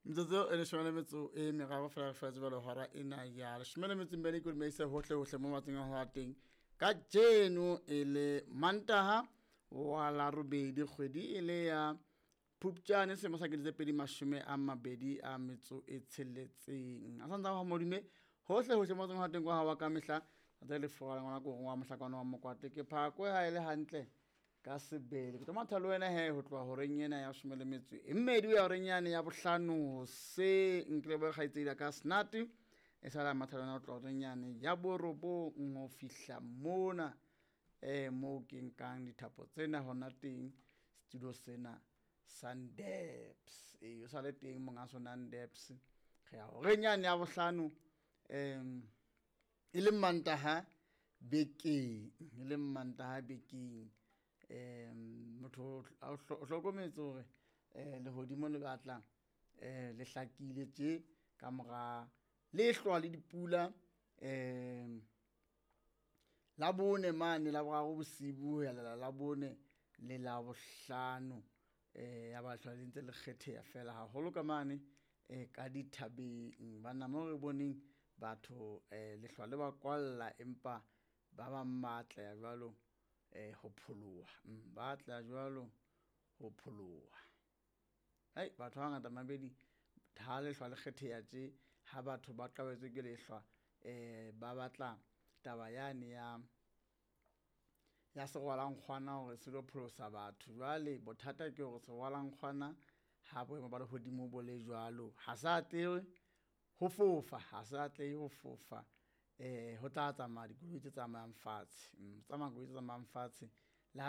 Metsotso e leshome le metso e meraro fela re fela jwale hora ena ya leshome le metso e mmedi ke o dumedise hohle hohle mo matseng a ho teng ka jeno e le Mantaha wa la robedi kgwedi e le ya Phupjane selemo sa 2026. A santsa ho modume hohle hohle mo matseng a ho teng kwa hawa ka mehla tsa le fora ngwana ko wa mohlakwana wa mokwate ke phakwe ha e le hantle ka sebele. Ke tlo matha le wena he ho tloha horeng ena ya leshome le metso e mmedi ho ya horeng yane ya bohlano hoseng. Ke lebohe kgaitsedi ya ka Snati e sala matha le wena ho tloha horeng yane ya borobong ho fihla mona moo ke nkang dithapo tsena hona teng studio sena Sundabs. E o sale teng monga sona Ndabs. Re ya horeng yane ya bohlano e le Mantaha bekeng, e le Mantaha bekeng. Motho o hlokometse hore lehodimo le batla le hlakile tje ka mora lehlwa le dipula la bone mane la boraro bosibu ho ya lela la bone le la bohlano ya ba hlwa le ntse le kgetheha fela haholo ka mane ka dithabeng. Banna mo re boneng batho lehlwa le ba kwalla empa ba bang ba atleha jwalo ho pholoha, ba atleha jwalo ho pholoha. Hai batho ba bangata mabedi ha lehlwa le kgetheha tje ha batho ba qabetswe ke lehlwa ba batla taba yane ya ya serwalankgwana hore se lo pholosa batho. Jwale bothata ke hore serwalankgwana ha boemo ba lehodimo bo le jwalo ha se atlehe ho fofa, ha se atlehe ho fofa. Ho tla tsamaya dikoloi tse tsamayang fatshe, ho tsamaya koloi tse tsamayang fatshe.